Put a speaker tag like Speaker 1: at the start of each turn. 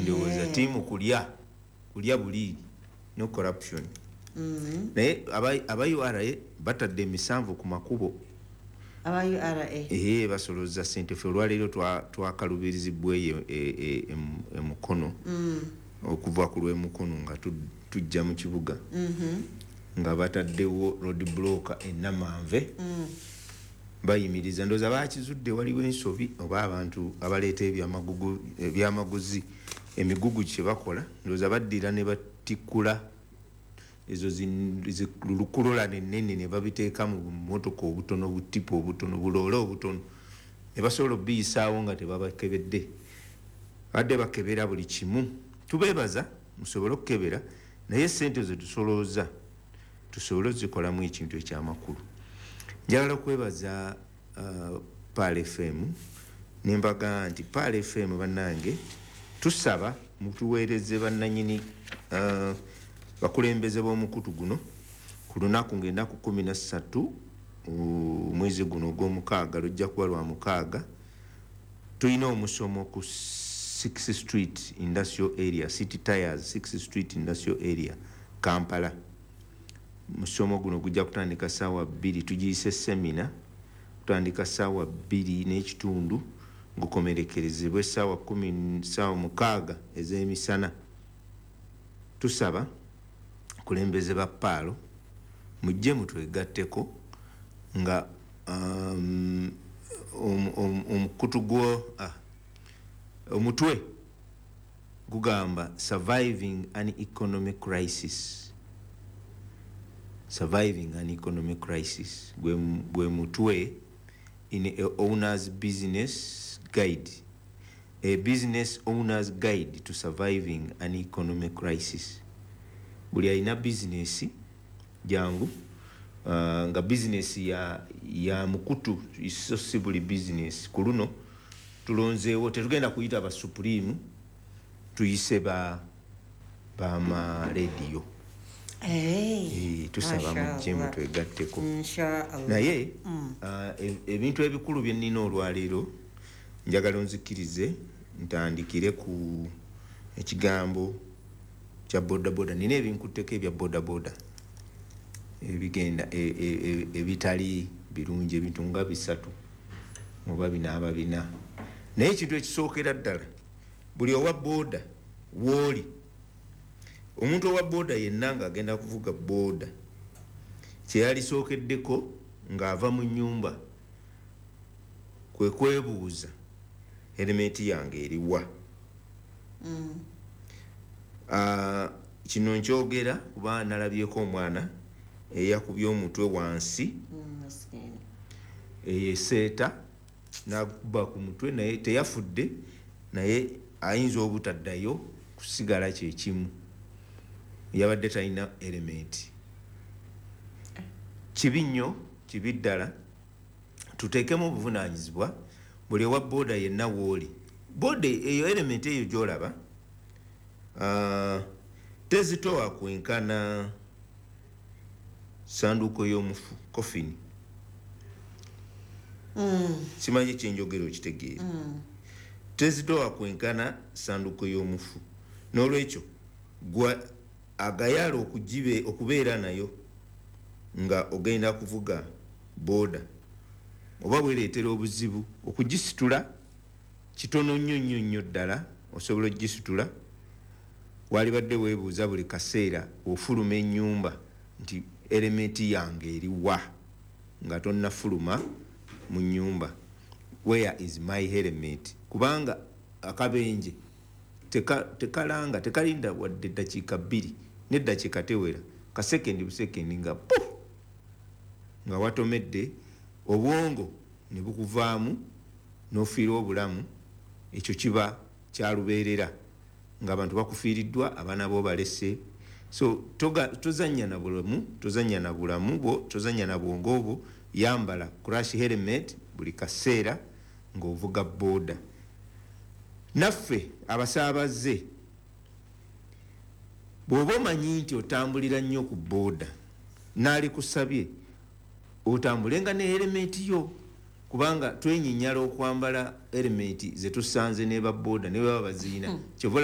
Speaker 1: Ndowooza tiimu kulya kulya buliiri, no corruption. Naye aba URA batadde emisanvu ku makubo.
Speaker 2: Aba URA?
Speaker 1: Ee, basoloza sente. Fe olwaleero twakalubirizibwa eyo emukono okuva ku lw'emukono nga tujja mu kibuga nga bataddewo road block enamanve, bayimiriza. Ndowooza bakizudde waliwo ensobi oba abantu abaleeta ebyamaguzi, emigugu kye bakola. Ndowooza baddira ne batikkula ezo lukulula nenene ne babiteeka mu bumotoka obutono, butipa obutono, buloole obutono, ne basobola obiyisaawo nga tebabakebedde. Badde bakebera buli kimu. Tubeebaza musobole okukebera, naye sente zetusolooza tusobole ozikolamu ekintu ekyamakulu. Njagala okwebaza Pearl FM, nembaga nti Pearl FM bannange, tusaba mutuweereze bannanyini, bakulembeze b'omukutu guno ku lunaku ng'ennaku 13 omwezi guno ogw'omukaaga. Lujja kuba lwa mukaaga. Tulina omusomo ku 6 Street Industrial Area, City Tires, 6 Street Industrial Area, Kampala. Musomo guno gujja kutandika saawa 2. Tugiyise seminar. Kutandika saawa 2:30, gukomerekerezebwe saawa 10, saawa 6 ez'emisana. Tusaba kulembeze ba Pearl mujje mutwegatteko nga omukutu gwo, omutwe gugamba "Surviving an Economic Crisis". "Surviving an Economic Crisis" gwe mutwe. In a owner's business guide, a business owner's guide to surviving an economic crisis. Buli alina bizinesi jangu, nga bizinesi ya mukutu, so si buli bizinesi. Ku luno tulonzeewo, tetugenda kuyita ba Supreme, tuyise ba bamarediyo.
Speaker 2: Hey,
Speaker 1: Eh, tusaba mujje
Speaker 2: Mashallah.
Speaker 1: mutwegatteko.
Speaker 2: Inshallah.
Speaker 1: Naye ebintu ebikulu bye nnina olwaleero, njagala onzikirize ntandikire ku ekigambo kya bodaboda. Nina ebinkutteko ebya bodaboda ebigenda ebitali birungi, ebintu nga bisatu oba binaaba bina. Naye ekintu ekisookera ddala, buli owa booda wooli, omuntu owa booda yenna ng'agenda kuvuga booda, kyeyalisookeddeko ng'ava mu nnyumba kwe kwebuuza, "Helmet yange eriwa?" Kino nkyogera kuba nalabyeko omwana eyakubye omutwe wansi.
Speaker 2: Maskini.
Speaker 1: Eyeseeta nakuba ku mutwe, naye teyafudde, naye ayinza obutaddayo kusigala kyekimu. Yabadde talina helmet. Kibi nnyo, kibi ddala. Tuteekemu obuvunanyizibwa. Buli owa booda yenna wooli, booda eyo, helmet eyo gyolaba, tezitowa kwenkana sanduuko y'omufu, coffin. Simanyi kyenjogera okitegeera. Tezitowa kwenkana sanduuko y'omufu. N'olwekyo gwa agayaala okubeera nayo nga ogenda kuvuga booda, oba bwereetera obuzibu okugisitula, kitono nnyo nnyo nnyo ddala osobola ogisitula. Walibadde weebuuza buli kaseera ofuluma ennyumba nti, "Helmet yange eriwa?" Nga tonnafuluma mu nnyumba, "Where is my helmet?" Kubanga akabenje tekalanga, tekalinda wadde eddakiika 2, neddakiika tewera, kasekendi busekendi nga pu nga watomedde, obwongo ne bukuvaamu n'ofiira obulamu. Ekyo kiba kyalubeerera ng'abantu bakufiiriddwa, abaana bo balese. So tozanya na bulamu, tozanya na bulamu bwo, tozanya na bwongo bwo. Yambala crash helmet buli kaseera ng'ovuga booda. Naffe abasaabaze, bw'oba omanyi nti otambulira nnyo ku booda, naalikusabye otambulenga ne helmet yo, kubanga twenyinyala okwambala helmet zetusanze ne babooda ne baba baziina. Kyova